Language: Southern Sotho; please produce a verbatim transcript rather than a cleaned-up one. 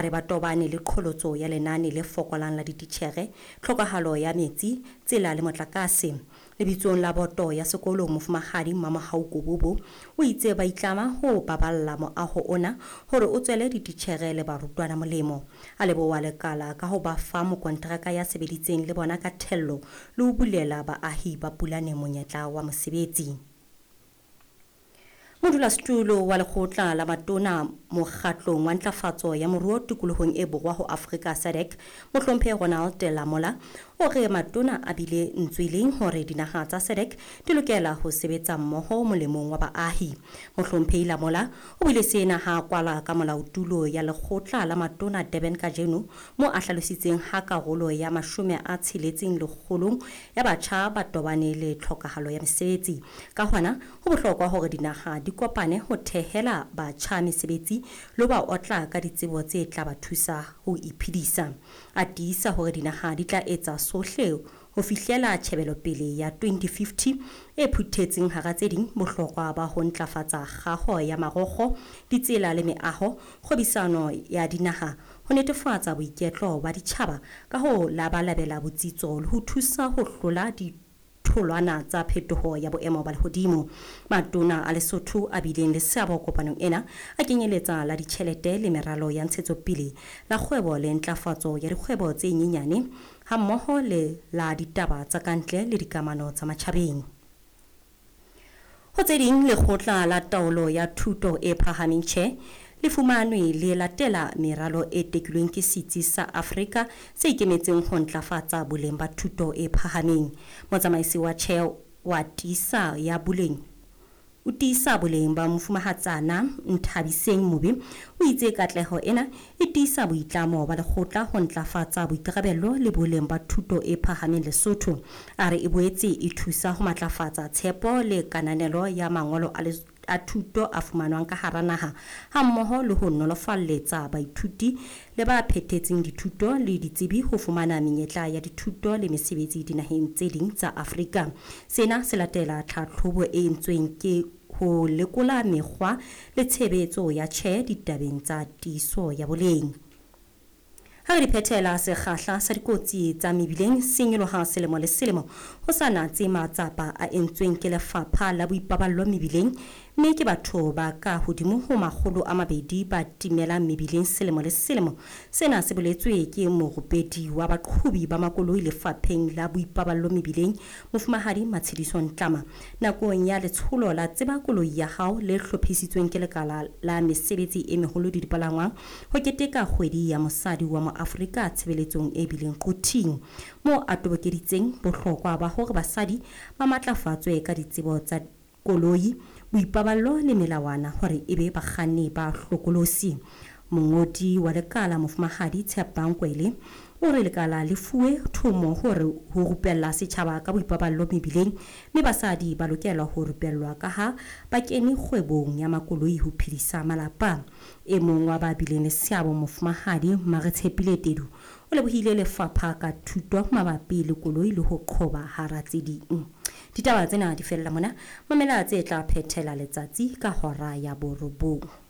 Re ba tobane le qholotso ya lenane le fokolang la dititjhere, tlhokahalo ya metsi, tsela le motlakase. Lebitsong la boto ya sekolo Mofumahadi Mamohau Kobobo o itse ba itlama ho baballa moaho ona hore o tswele dititjhere le barutwana molemo. A leboha lekala ka ho ba fa mokonteraka ya sebeditseng le bona ka thello le ho bulela baahi ba Pulane monyetla wa mosebetsi. Modulasetulo wa lekgotla la matona mokgatlong wa ntlafatso ya moruo tikolohong e borwa ho Afrika SADC, Mohlomphehi Ronald Lamola, o re matona a bile ntsweleng hore dinaha tsa SADC di lokela ho sebetsa mmoho molemong wa baahi. Mohlomphehi Lamola o buile sena ha kwala ka molaotulo ya lekgotla la matona Durban kajeno, mo a hlalositseng ha karolo ya mashome a tsheletseng lekgolong ya batjha ba tobane le tlhokahalo ya mesebetsi. Ka hona, ho bohlokwa hore dinaha di kopane ho thehela batjha mesebetsi le ho ba otla ka ditsebo tse tla ba thusa ho iphedisa. A tiisa hore dinaha di tla etsa sohle ho fihlela tjhebelopele ya twenty fifty e phuthetseng hara tse ding bohlokwa ba ho ntlafatsa kgaho ya marokgo, ditsela le meaho, kgwebisano ya dinaha, ho netefatsa boiketlo ba ditjhaba ka ho labalabela botsitso le ho thusa ho hlola di tholwana tsa phetoho ya boemo ba lehodimo. Matona a Lesotho a bileng le seabo kopanong ena a kenyeletsa la ditjhelete le meralo ya ntshetsopele, la kgwebo le ntlafatso ya dikgwebo tse nyenyane, hammoho le la ditaba tsa kantle le dikamano tsa matjhabeng. Ho tse ding, lekgotla la taolo ya thuto e phahameng tjhe le fumanwe le latela meralo e tekilweng ke Setsi sa Afrika se ikemetseng ho ntlafatsa boleng ba thuto e phahameng. Motsamaisi wa tjhe wa tiisa ya boleng o tiisa boleng ba mofumahatsana Nthabiseng Mobe o itse katleho ena e tiisa boitlamo ba lekgotla ho ntlafatsa boikarabello le boleng ba thuto e phahameng Lesotho. A re e boetse e thusa ho matlafatsa tshepo le kananelo ya mangolo a a thuto a fumanwang ka hara naha, hammoho le ho nolofalletsa baithuti le ba phethetseng dithuto le ditsebi ho fumana menyetla ya dithuto le mesebetsi dinaheng tse ding tsa Afrika. Sena se latela tlhatlhobo e entsweng ke ho lekola mekgwa le tshebetso ya tjhe ditabeng tsa tiiso ya boleng. Ha re di phethela, sekgahla sa dikotsi tsa mebileng se nyoloha selemo le selemo ho sa natse matsapa a entsweng ke lefapha la boipaballo mebileng, mme ke batho ba ka hodimo ho makgolo a mabedi ba timelang mebileng selemo le selemo. Sena se boletswe ke morupedi wa baqhobi ba makoloi lefapheng la boipaballo mebileng, Mofumahadi Matshediso Ntlama, nakong ya letsholo la Tseba Koloi ya Hao le hlophisitsweng ke lekala la mesebetsi e meholo le dipalangwang ho keteka kgwedi ya mosadi wa Moafrika tshebeletsong e bileng Quthing, moo a tobokeditseng bohlokwa ba hore basadi ba matlafatswe ka ditsebo tsa koloi, boipaballo le melawana hore ebe bakganni ba hlokolosi. Mongodi wa lekala Mofumahadi Tshepang Kwele o re lekala le fuwe thomo hore ho rupella setjhaba ka boipaballo mebileng, mme basadi ba lokela ho rupellwa ka ha ba kene kgwebong ya makoloi ho phedisa malapa. E mong wa ba bileng le seabo Mofumahadi Maretshepile Tedu o lebohile lefapha ka thuto mabapi le koloi le ho qhoba hara tse ding. Ditaba tsena di fella mona, mamela tse tla phethela letsatsi ka hora ya borobong.